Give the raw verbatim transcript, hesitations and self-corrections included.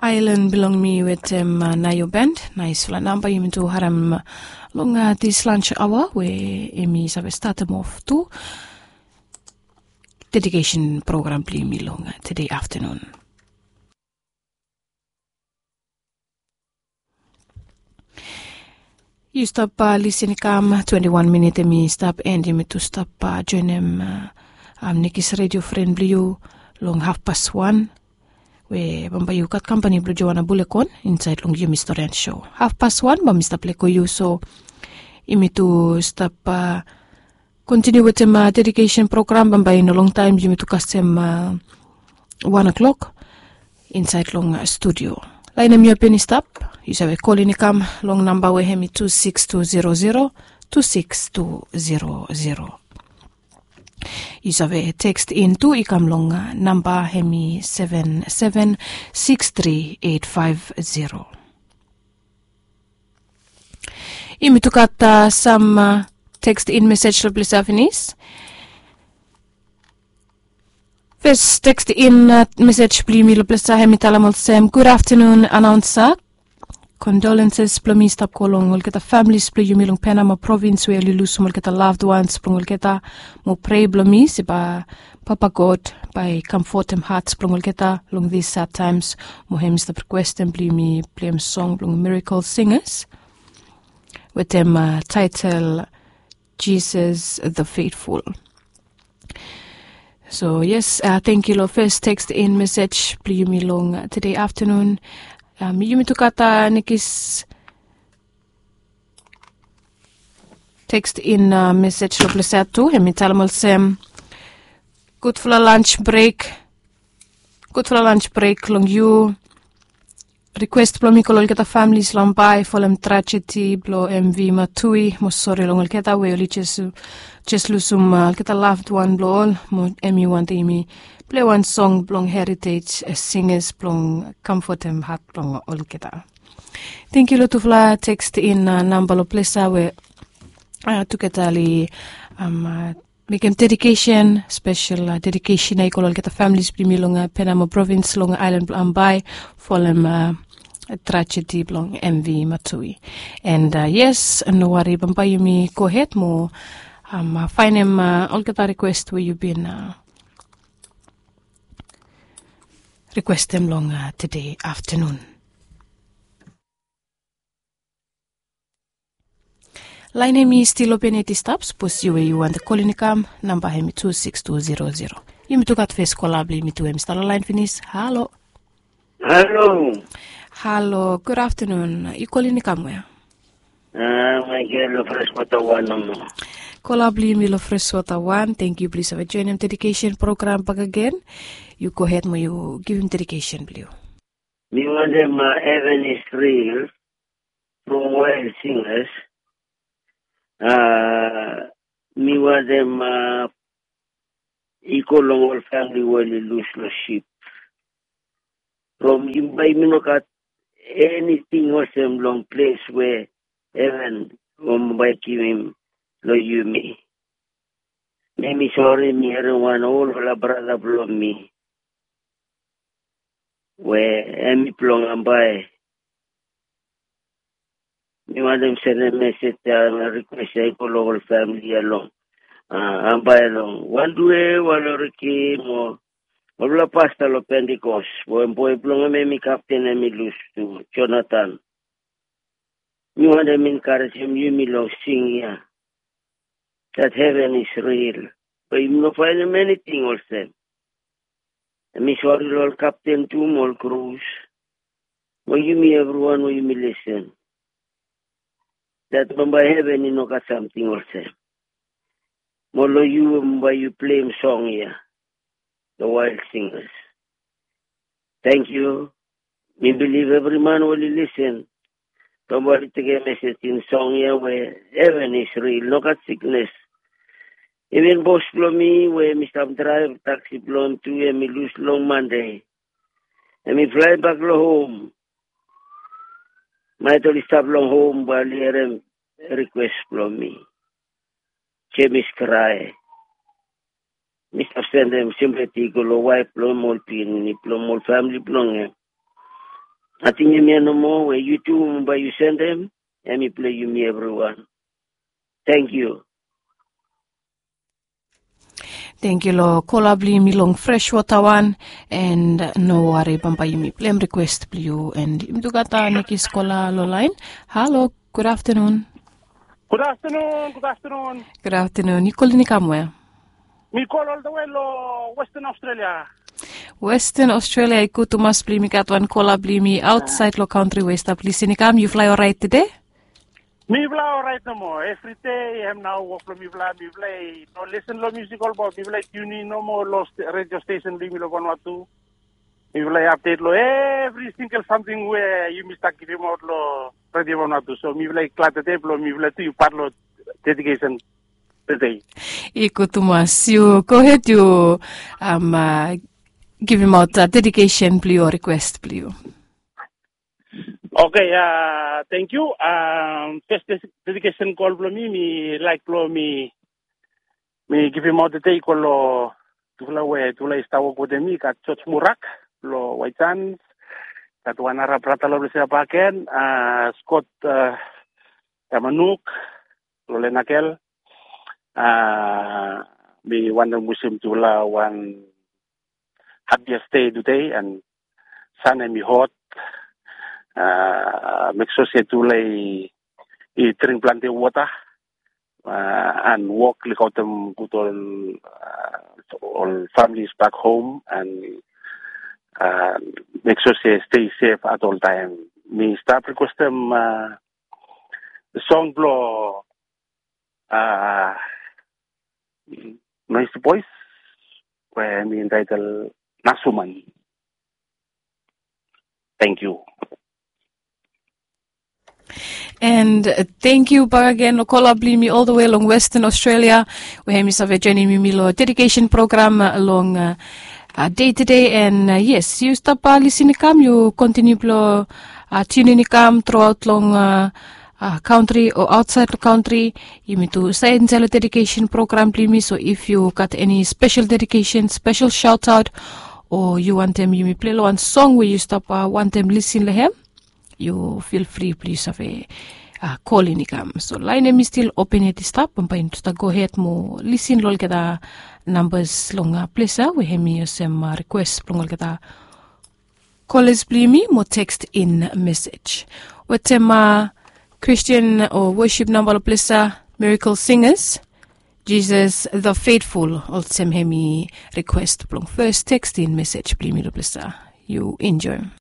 Ailan bilong mi wetem naio band. Naispela namba yumi tu harim long dis lunch aoa we yumi save statim of tu dedikesen program bilong yumi long tude aftanun. Yu stap lisin i kam twenti wan minit em i stap en yumi tu stap joinim nekis redio fren bilong yu long hafpas wan, we bambae yu gat kampani bilong joana bulekon insait long yumi storian sho. Hafpas wan bae mi stap leko yu so yumi tu stap kontiniu wetem dedikesen program bambae i no longtaim yumi tu kasem wan o'klok insait long studio. Lain em yu apen i stap, yu save kolin i kam long namba we hem i tu siks tu zero zero tu siks tu zero zero. Yu save tekst in tu i kam long namba hem i seven seven six three eight five zero. Yumi tu gat sam tekst in mesej long ples ya pinis. Fes tekst in mesej bilong yumi long ples ya hem i talem olsem, gud aftanun anaunsa. Kondolenses bilong mi i stap go long olgeta familis bilong yumi long Penama provins we oli lusim olgeta loved ones bilong olgeta. Mo prea bilong mi se bae Papa God bae i kamfotim hats bilong olgeta long dis sad taims. Mo hem i stap rikwestim bilong yumi pleim song bilong Miracle Singers wetem taitel Jesus the Faithful. So yes, thank you long fes tekst in mesej bilong yumi long tude aftanun. Yumi tu gat nekis tekst in mesej long ples ya tu, hem i talem olsem, gudfala lunch break. Gudfala lunch break long yu. Rikwes bilong mi go long olgeta familis long bae folem trajedi bilong MV Matui, mo sori long olgeta we oli jes lusim olgeta loved wan bilong ol, mo em i wantaim yumi plei wan song bilong Heritage Singers bilong kamfotim hat bilong olgeta. Thank you long tufala tekst in namba long ples ya we tugeta oli mekem dedikesen, spesel dedikesen ya i go long olgeta familis bilong yumi long Penama provins long ailan bilong Ambae folem trajedi bilong MV Matui. And yes, no wari, bambae yumi go hed mo painim olgeta rikwes we yu bin rikwestim long tude aftanun. Lain em i stil open yet i stap, sapos yu we yu wantem kolin i kam, namba em i tu siks tu zero zero. Yumi tu gat fes kola bilong yumi tu em i stap long lain pinis. Halo. Halo. Halo, gud aftanun. Yu kolin i kam we? Maigel long Freswota wan nomo. Kola bilong yumi long Freswota wan, thank yu bilong yu save joinim dedikesen program bakegen. Yu go hed mo yu givim dedikesen bilong yu. Mi wantem Heaven is Real from Wild Singers. Mi wantem i go long ol famili we oli lus long sip. From yumi bae yumi no gat eniting olsem long ples we heven o bae givim long yumi. Mi mi sori mi harim wan olfala brata bilong mi we em i bilong Ambae. Mi wantem sendem mesej ya na rikwes ya i go long ol famili ya long Ambae, long Wandue, Waloriki mo olfala pasta long Pentikos, we boi bilong em em i kapten em i lus tu, Jonathan. Mi wantem enkarejem yumi long sing ya, that heaven is real. Be yumi no painim eniting olsem. Mi sori long ol kapten tu mo ol krus mo yumi evriwan we yumi lisin, that bambae heven i no gat samting olsem. Mo long yu bambae yu pleim song ya, the Wild Singers. Thank yu. Mi bilip evri man we oli lisin bambae oli tekem mesej in song ya we heven is real, no gat siknes. Even bos bilong mi we mi stap draev taksi bilong tu em i lus long Mande. Em i flaebak long hom. Maet oli stap long hom bae oli harim rikwes bilong mi. Jemis Krae. Mi stap sendem simpati i go long waef bilong em, ol pikinini bilong em, ol famili bilong em. Nating hemia nomo we yu tu bae yu sendem, hem i blong yumi evriwan. Tangkiu. Tangkiu long kola blong yumi long Freshwater wan. And no wari, bambae yumi pleim request blong yu. And yumi tu gat nekis kola long lain. Halo, gud aftenun. Gud aftenun, gud aftenun. Gud aftenun. Yu kolin i kam we? Mi kol oltawe long Western Australia. Western Australia i gud tumas blong yumi gat wan kola blong yumi ausait long kantri we i stap lisin i kam. Yufala i orait tede? Mifala orait nomo. Evridei hem nao wok blong mifala, mifala i no lisen long musik olbaot, mifala i tiunin nomo long redio stesen blong yumi long Vanuatu. Mifala i apdet long evri singel samting we yumi stap givimaot long redio Vanuatu. So mifala i glad tede blong mifala tu i pat long dedikesen tede. I gud tumas. Yu gohed, yu givimaot dedikesen blong yu o rikwes blong yu. Oke, tangkiu. Fes dedikesen kol blong mi, mi laik blong mi mi givimaot tede i go long tufala we tufala i stap wok wetem mi, gat George Murak long White Sands, gat wan nara brata long ples ya bakegen, Scott Tamanuk long Lenakel. Mi wantem wisim tufala wan happiest day today, and sun hemi hot. Mek sua se tufala i dring plante wota, and wok lukaotem gud ol, ol families back home, and mek sua se stay safe at all time. Mi stap rikwestem song blong Noisy Boys we hemi entitle Nasuman. Tangkiu. And tangkiu bakegen long kola blong yumi oltawe long Western Australia, we hemi save joinim yumi long dedikesen program long dei tede. And yes, yu stap lisin i kam, yu kontiniu blong tiunin i kam truaot long kantri o ausait long kantri. Yumi tu save insaed long dedikesen program blong yumi. So if yu gat eni spesel dedikesen, spesel shaotaot, o yu wantem yumi pilei long wan song we yu stap wantem lisin long hem, yu fil fri blong yu save kolin i kam. So laen hemi stil open yet i stap, bambae yumi tu stap gohed mo lisin long olgeta nambas long ples ya we hemi olsem rikwes blong olgeta kolas blong yumi mo tekstin mesej. Wetem Kristin o wosip namba long ples ya, Miracle Singers, Jesus the Faithful, olsem hemi rikwes blong fes tekstin mesej blong yumi long ples ya. Yu enjoem.